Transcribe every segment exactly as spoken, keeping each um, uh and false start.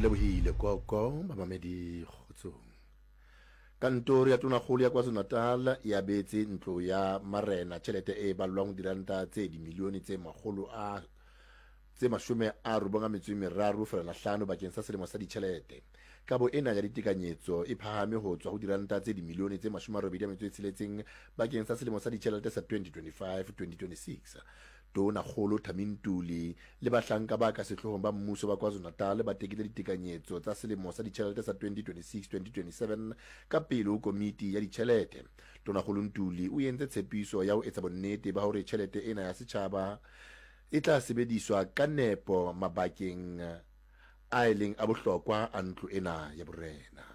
Lebohile Koko, bamamedi kgotsong. Kantoro ya Tonakgolo ya KwaZulu-Natal e abetse ntlo ya marena tjhelete e ballwang diranta tse dimilione tse makgolo a tse mashome a robong a metso e meraro feela hlano bakeng sa selemo sa ditjhelete. Kabo ena ya ditekanyetso e phahame ho tswa ho diranta tse dimilione tse mashome a robedi a metso e tsheletseng bakeng sa selemo sa ditjhelete sa twenty twenty-five twenty twenty-six. Tonakgolo Thami Ntuli le bahlanka ba ka sehloohong ba mmuso ba KwaZulu-Natal ba tekile ditekanyetso tsa selemo sa ditjhelete sa twenty twenty-six twenty twenty-seven ka pele ho komiti ya ditjhelete. Tonakgolo Ntuli o entse tshepiso ya ho etsa bonnete ba hore tjhelete ena ya setjhaba e tla sebediswa ka nepo mabakeng a e leng a bohlokwa a ntlo ena ya borena.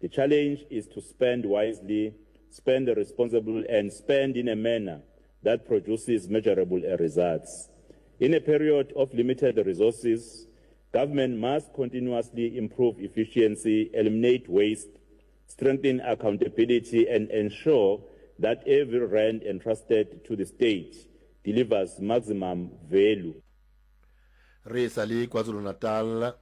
The challenge is to spend wisely, spend responsibly, and spend in a manner that produces measurable results. In a period of limited resources, government must continuously improve efficiency, eliminate waste, strengthen accountability, and ensure that every rand entrusted to the state delivers maximum value. Re sa le KwaZulu-Natal,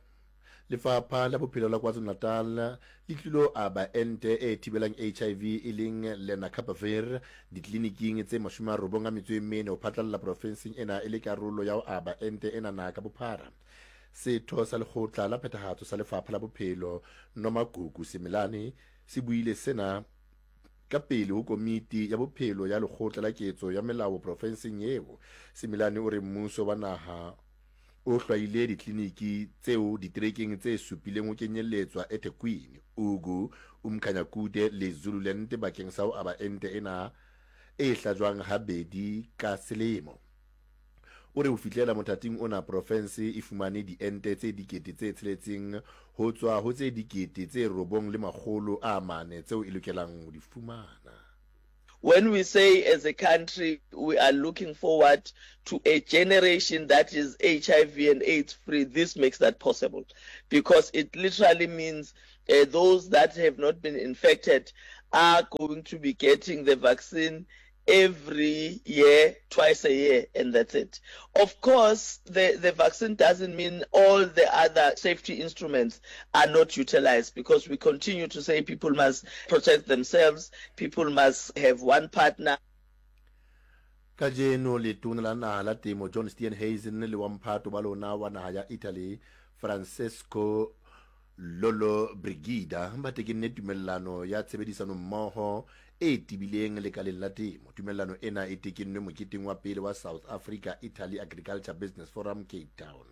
Lefapha la Bophelo la KwaZulu-Natal le tlilo aba ente e thibelang H I V e leng Lenacapavir ditleliniking tse mashome a robong a metso e mene ho phatlalla profenseng ena e le karolo ya ho aba ente ena naha ka bophara. Setho sa lekgotla la phethahatso sa Lefapha la Bophelo Nomagugu Simelane se buile sena ka pele ho komiti ya bophelo ya lekgotla la ketso ya melao profenseng eo. Simelane o re mmuso wa naha o hlwaile ditleliniki tseo diterekeng tse supileng ho kenyelletswa eThekwini, Ugu, Umkhanyakude le Zululand bakeng sa ho aba ente ena e hlajwang habedi ka selemo. O re ho fihlela mothating ona profense e fumane diente tse dikete tse tsheletseng ho tswa ho tse dikete tse robong le makgolo a mane tseo e lokelang ho di fumana. When we say as a country we are looking forward to a generation that is H I V and AIDS free, this makes that possible, because it literally means, uh, those that have not been infected are going to be getting the vaccine every year, twice a year, and that's it. Of course, the, the vaccine doesn't mean all the other safety instruments are not utilized, because we continue to say people must protect themselves, people must have one partner. Kajeno letona la naha la temo John Steenhuisen le wa mphato ba lona wa naha ya Italy Francesco Lollobrigida ba tekenne tumellano ya tshebedisano mmoho e tebileng lekaleng la temo. Tumellano ena e tekennwe moketeng wa pele wa South Africa Italy Agriculture Business Forum Cape Town.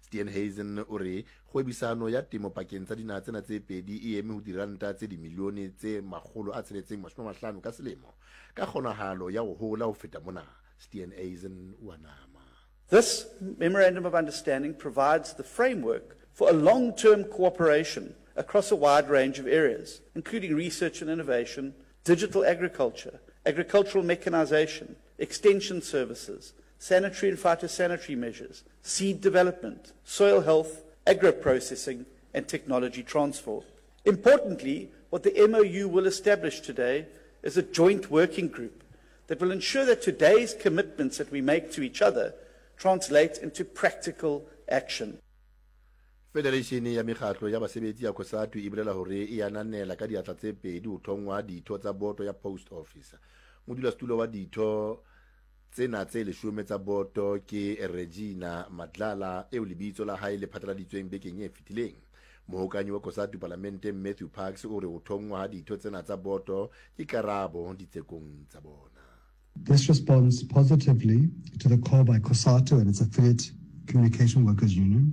Steenhuisen o re kgwebisano ya temo pakeng tsa dinaha tsena tse pedi e eme ho diranta tse dimilione tse makgolo a tsheletseng mashome a mahlano ka selemo, ka kgonahalo ya ho hola ho feta mona. Steenhuisen o a nama. This memorandum of understanding provides the framework for a long-term cooperation across a wide range of areas, including research and innovation, digital agriculture, agricultural mechanization, extension services, sanitary and phytosanitary measures, seed development, soil health, agro-processing, and technology transfer. Importantly, what the M O U will establish today is a joint working group that will ensure that today's commitments that we make to each other translate into practical action. Federation ya mekgatlo ya basebetsi ya COSATU e bolela hore e ananela ka diatla tse pedi ho thongwa ditho tsa boto ya Post Office. Modulasetulo wa ditho tsena tse leshome tsa boto ke Regina Madlala eo lebitso la hae le phatlaladitsweng bekeng e fetileng. Mohokanyi wa COSATU palamenteng Matthew Parks o re ho thongwa ha ditho tsena tsa boto ke karabo ditsekong tsa bona. This responds positively to the call by COSATU and its affiliate Communication Workers Union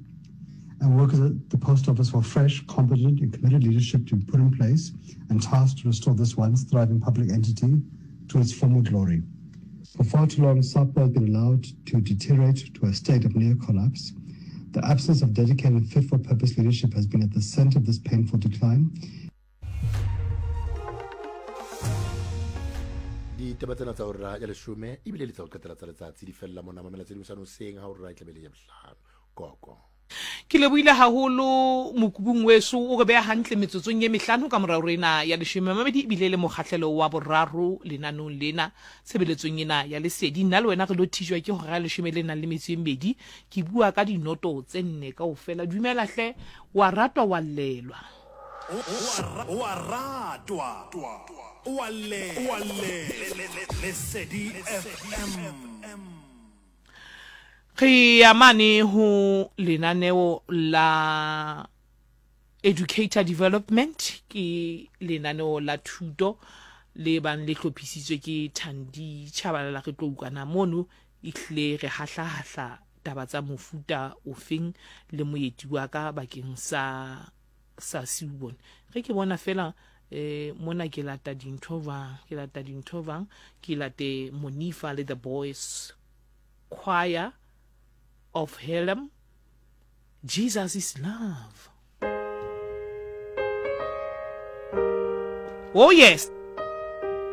and workers at the Post Office for fresh, competent and committed leadership to be put in place and tasked to restore this once thriving public entity to its former glory. For far too long, SAPO has been allowed to deteriorate to a state of near collapse. The absence of dedicated and fit-for-purpose leadership has been at the center of this painful decline. Ditaba tsena tsa hora ya leshome ebile le tsa ho qetela tsa letsatsi di fella mona mamela tse ding sa hoseng ha hora e tlabe le ya bohlano. Koko. Ke lebohile haholo mokubung weso o re beha hantle metsotsong ye mehlano ka morao rena ya leshome mamedi ebile le mokgahlelo wa boraro lenanong lena tshebeletsong ena ya lesedi. Nna le wena re lo thijwa ke hora ya leshome le nang le metso e mmedi. Ke bua ka dinoto tse nne kaofela. Dumela hle, wa ratwa wa llelwa. O a ratwa, o a llelwa. Lesedi F M. Re ya mane ho lenaneo la Educator Development, ke lenaneo la thuto le bang le hlophisitswe ke Thandi Tshabalala. Re tlo utlwana mono ehlile re hahlahahla taba tsa mofuta ofeng le moeti wa ka bakeng sa sa Siubone. Re ke bona fela eh mona ke lata dintho jwang, ke lata dintho jwang, ke late Monifa le the Boys Choir of Helem, Jesus is Love. Oh yes.